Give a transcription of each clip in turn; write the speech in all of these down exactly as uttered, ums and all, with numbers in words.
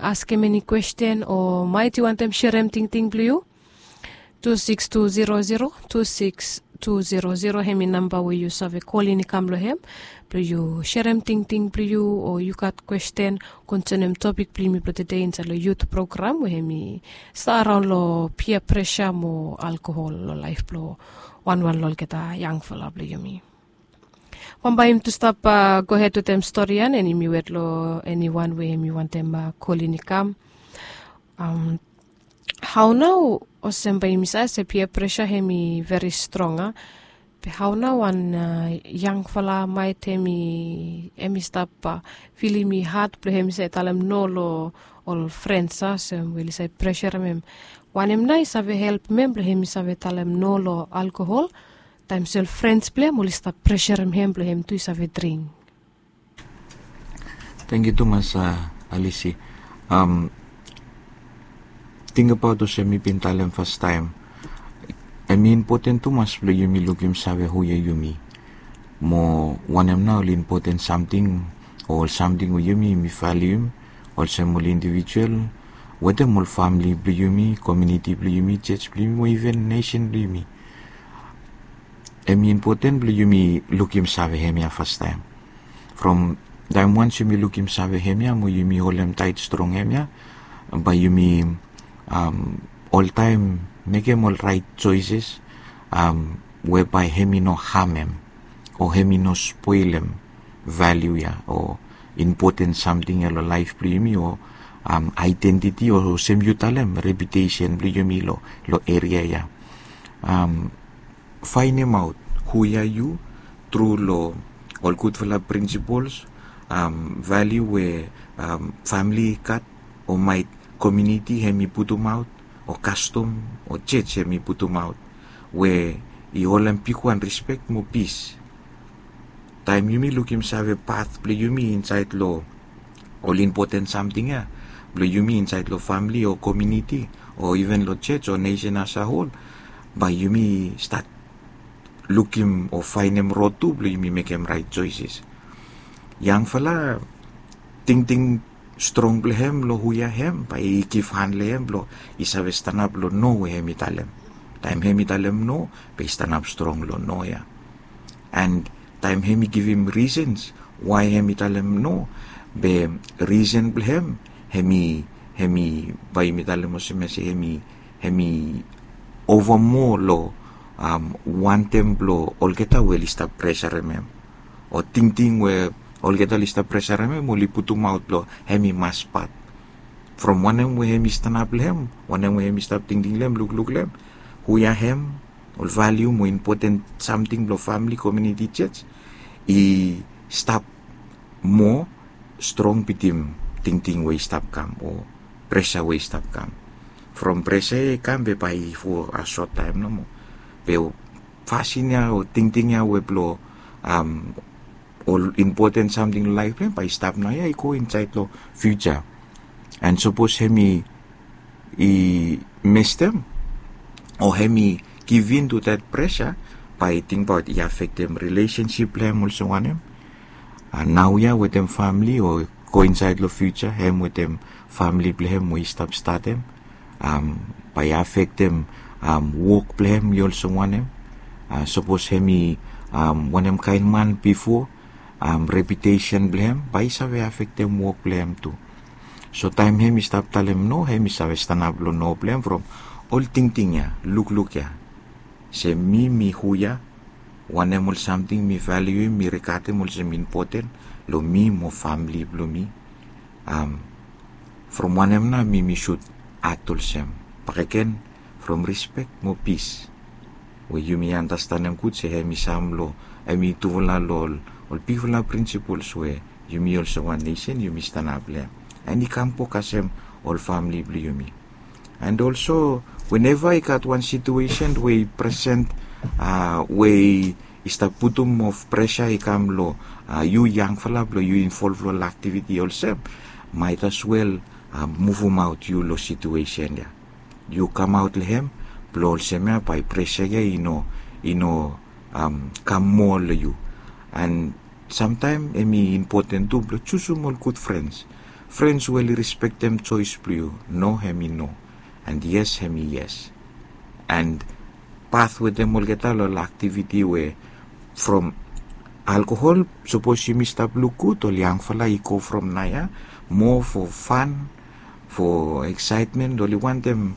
askem eni kwesten o maet yu wantem serem tingting blong yu, tu siks tu zero zero tu siks tu zero zero hem i namba we yu save kolin i kam long hem blong yu serem tingting blong yu o yu gat kwesten konsenem topik blong yumi blong tede insaed long yut program we hem i stap araon long pia presa mo alkohol long laef blong wanwan long olgeta yangfala blong yumi. Bambae yumi tu stap gohed wetem stori ya, and yumi wet long eniwan we hem i wantem kolin i kam. Hao nao olsem bae yumi save se pia presa hem i veri strong a, be hao nao wan yangfala maet hem i hem i stap filim i had blong hem i save talem no long ol frens a olsem we oli save preserem hem? Wanem nao i save helpem hem blong hem i save talem no long alkohol taem se ol frens blong hem oli stap preserem hem blong hem tu i save dring? Tangkiu tumas, alisi. Tingbaot olsem mi bin talem fastaem, hem i impoten tumas blong yumi lukim save hu ya yumi, mo wanem nao ol impoten samting o ol samting we yumi yumi valium olsem ol indivijual wetem ol famili blong yumi, komiuniti blong yumi, joj blong yumi o iven nesen blong yumi. Hem i impoten blong yumi lukim save hemia fastaem. From taem wans yumi lukim save hemia mo yumi holem taet strong hemia, bae yumi oltaem mekem ol raet joeses we bae hem i no hamem o hem i no spolem valiu ya o impoten samting ya long laef blong yumi o aedentiti o olsem yu talem reputesen blong yumi long eria ya. Faenemaot hu ya yu tru long ol gudfala prinsipols, valiu we famili i gat o maet komiuniti hem i putumaot o kastom o joj hem i putumaot we i holem bigwan rispek mo pis. Taem yumi lukim save pat blong yumi insaed long ol impoten samting ya blong yumi insaed long famili o komiuniti o iven long joj o nesen asahol, bae yumi stat lukim o faenem rod tu blong yumi mekem raet joeses. Yangfala tingting strong blong hem long hu ya hem bae i givhan long hem blong i save stanap long no we hem i talem. Taem hem i talem no, bae i stanap strong long no ya. And taem hem i givim risens wae hem i talem no, be risen blong hem hem i hem i bae yumi talem olsem ya se hem i hem i ova moa long wantem blong olgeta we oli stap presarem hem o tingting we olgeta oli stap presarem hem oli putumaot blong hem i mas pat. From wanem we hem i stanap long hem, wanem we hem i stap tingting long hem, lukluk long hem, hu ya hem, ol valiu mo impoten samting blong famili, komiuniti, joj i stap moa strong bitim tingting we i stap kam o presa we i stap kam. From presa ya i kam be bae i fo a sot taem nomo. Be fasin ya o tingting ya we blong ol impoten samting long laef blong hem bae i stap naoia i go insaed long fiuja. And sapos hem i mestem o hem i givin tu dat presa, bae i tingbaot i afektem rilesensip blong hem olsem wanem. Naoia wetem famili o go insaed long fiuja hem wetem famili blong hem we i stap statem, bae i afektem wok blong hem i olsem wanem. Sapos hem i wanem kaen man bifo, reputesen blong hem bae i save afektem wok blong hem tu. So taem hem i stap talem no, hem i save stanap long no blong hem from ol tingting ya, lukluk ya, se mi mi hu ya, wanem ol samting mi valiuim, mi rigatem olsem impoten long mi mo famili blong mi. From wanem nao mi mi sud at olsem? Bakegen from rispek mo pis we yumi andastanem gud se hem i sam long hem i tufala long ol bigfala prinsipols we yumi olsem wan nesen yumi stanap long hem. And i kam bo kasem ol famili blong yumi. And olso weneva i gat wan situesen we i presen we i stap putum of presa i kam long yu yangfala blong yu involv long ol aktiviti olsem, maet as wel muvumaot yu long situesen ya. Yu kamaot long hem blong olsem ya bae presa ya i no i no kam moa long yu. And samtaem hem i impoten tu blong jusum ol gud frens Frens we oli respektem joes blong yu. No hem i no, and yes hem i yes. And path wetem olgeta long aktiviti we from alkohol, sapos yumi stap luk gud, ol yangfala i go from naoia moa fo fan, fo eksaetmen, oli wantem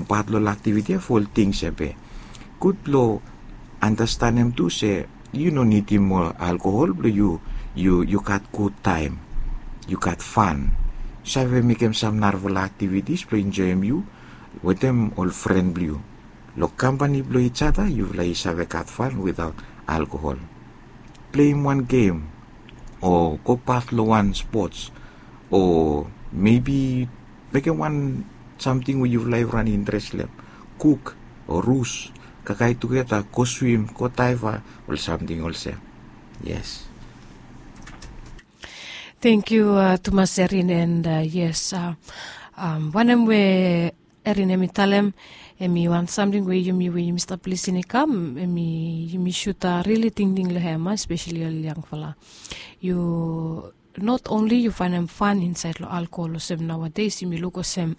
pat long aktiviti ya fo ol tings ya be. Gud blong andastanem tu se yu no nidim moa alkohol blong yu yu yu gat gud taem, yu gat fan. Save mekem sam narafala aktivitis blong enjoem yu wetem ol fren blong yu. Long kampani blong ijata yufala i save gat fan witaot alkohol. Pleim wan gem o go pat long wan spots o mebi mekem wan samting we yufala evriwan i interes long hem. Kuk o rus, kakae tugeta, go swim, go daeva, ol samting olsem. Yes. Tengkiu tumas erin, and yes, wanem we erin hem i talem, hem i wan samting we yumi we yumi stap lisin i kam hem i yumi sut rili tingting long hem, espeseli ol yangfala. Yu not onli yu faenem fan insaed long alkohol olsem naoades yumi luk olsem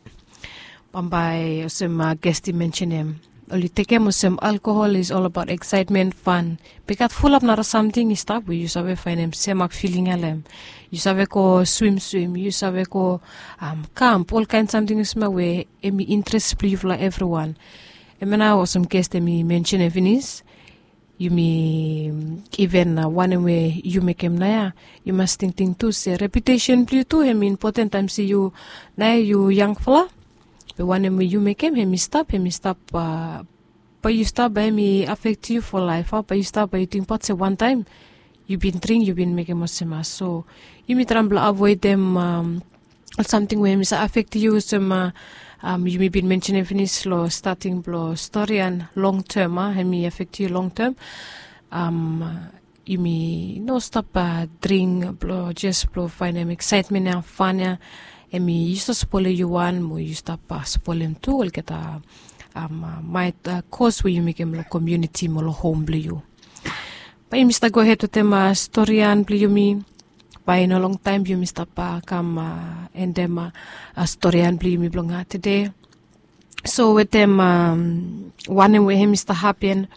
bambae olsem gesti mensenem, oli tekem olsem alkohol is ol abaot eksaetmen, fan. Be i gat fulap nara samting i stap we yu save faenem semak filing ya long hem. Yu save go swimswim, yu save go kamp, olkaen samting olsem ya we hem i interes blong yufala evriwan. Hemia nao olsem gesti hem i mensenem finis, yumi iven wanem we yu mekem naoia, yu mas tingting tu se reputesen blong yu tu hem i impoten taem se yu naoia yu yangfala. Be wanem we yu mekem hem i stap hem i stap bae yu stap bae hem i afektem yu fo laef a bae yu stap bae yu tingbaot se wantaem yu bin dring yu bin mekem olsem ya. So yumi traem blong avoedem ol samting we hem i save afektem yu olsem yumi bin mensenem finis long stating blong storian long tem a hem i afektem yu long tem. Yumi no stap dring blong jes blong faenem eksaetmen ya fan ya. Hem i yu stap spolem yu wan mo yu stap spolem tu olgeta maet kos we yu mekem long komiuniti mo long hom blong yu. Bae yumi stap gohed wetem storian blong yumi. Bae i no longtaem yumi stap kam endem storian blong yumi blong tede. So wetem wanem we hem i stap hapen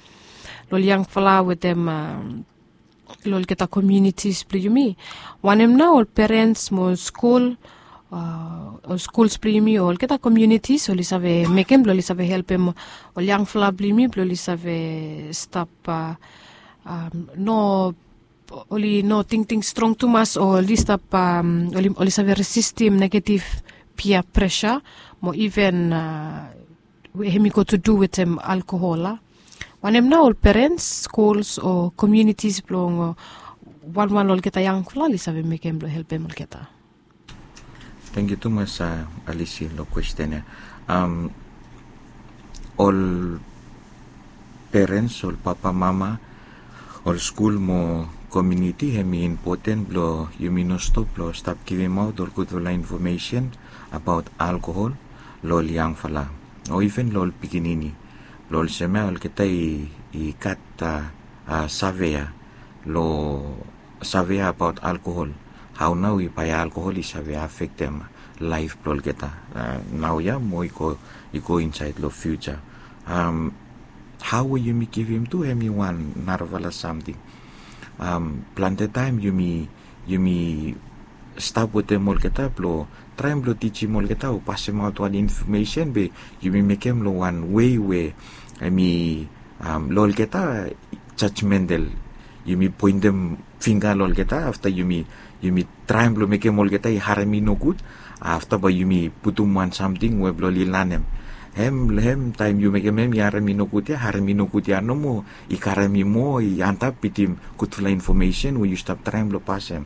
long ol yangfala wetem long olgeta komiunitis blong yumi, wanem nao ol perens mo ol skul, ol skuls blong yumi o olgeta komiunitis oli save mekem blong oli save helpem ol yangfala blong yumi blong oli save stap no oli no tingting strong tumas o oli stap oli save resistim negetiv pia presa mo iven we hem i go tu du wetem alkohol a. Wanem nao ol perens, skuls o komiunitis blong wanwan long olgeta yangfala oli save mekem blong helpem olgeta? Tengkiu tumas alisi long kwesten ya. Ol perens, ol papa mama, ol skul mo komiuniti hem i impoten blong yumi no stop blong stap givimaot ol gudfala infomesen abaot alkohol long ol yangfala o iven long ol pikinini blong olsem ya olgeta i gat save ya long save ya abaot alkohol. Hao nao i bae alkohol i save afektem laef blong olgeta naoia mo i go insaed long fiuja. Hao we yumi givim tu hem i wan narafala samting. Plante taem yumi yumi stap wetem olgeta blong traem blong tijim olgeta o pasemaot wan infomesen be yumi mekem long wan wei we hem i long olgeta jajmental. Yumi poentem fingga long olgeta afta yumi yumi traem blong mekem olgeta i harem i nogud. Afta bae yumi putum wan samting we blong oli lanem hem long hem taem yu mekem hem i harem i nogud ya harem i nogud ya nomo i karem i moa i antap bitim gudfala infomesen we yu stap traem blong pasem.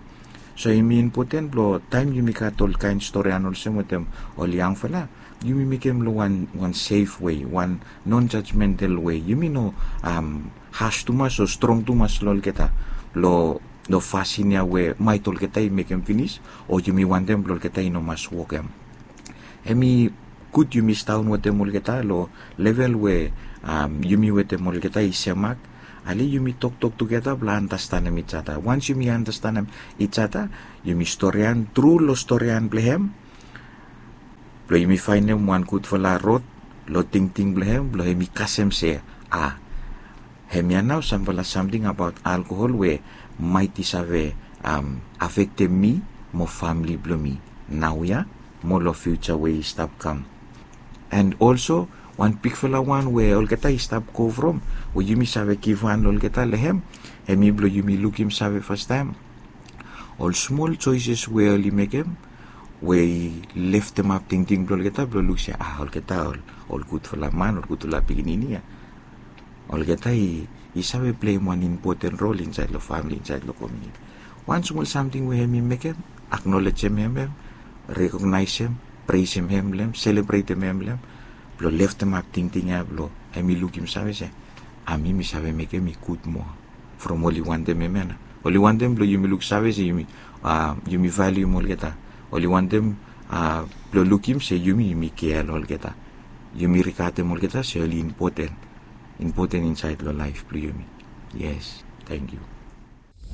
So hem i impoten blong taem yumi gat ol kaen storian olsem wetem ol yangfala yumi mekem long wan wan sef wei wan non jajmental wei yumi no has tumas o strong tumas long olgeta long fasin ya we maet olgeta i mekem finis o yumi wantem blong olgeta i no mas wokem. Hem i gud yumi staon wetem olgeta long level we yumi wetem olgeta i semak Ale yumi toktok tugeta blong anastanem ijata. Wans yumi anastanem ijata, yumi storian tru long storian blong hem, blong yumi faenem wan gudfala rod long tingting blong hem, blong hem i kasem se, a, hemia nao samfala samting abaot alkohol we maet i save afektem mi mo famili blong mi naoia mo long fiuja we i stap kam. And also, wan bigfala wan we olgeta i stap go from, we yumi save givhan olgeta long hem, hemi blong yumi lukim save fastaem ol smol joeses we oli mekem, we i leftemap tingting blong olgeta blong luk se, a, olgeta ol gudfala man, ol gudfala pikinini ya, olgeta i save pleim wan impoten rol insaed long famili, insaed long komuniti. Wan smol samting we hemi mekem, aknolejem hem, hem, rekognaesem, presem hem long hem, selebretem hem long hem, blong leftemap tingting ya blong hemi lukim save se, a, mi mi save mekem i gud moa from oli wantem hemia nao. Oli wantem blong yumi luksave se yumi, a, yumi valium olgeta. Oli wantem, a, blong lukim se yumi yumi kea long olgeta. Yumi rigatem olgeta se oli impoten, impoten insaed long laef blong yumi. Yes, tangkiu.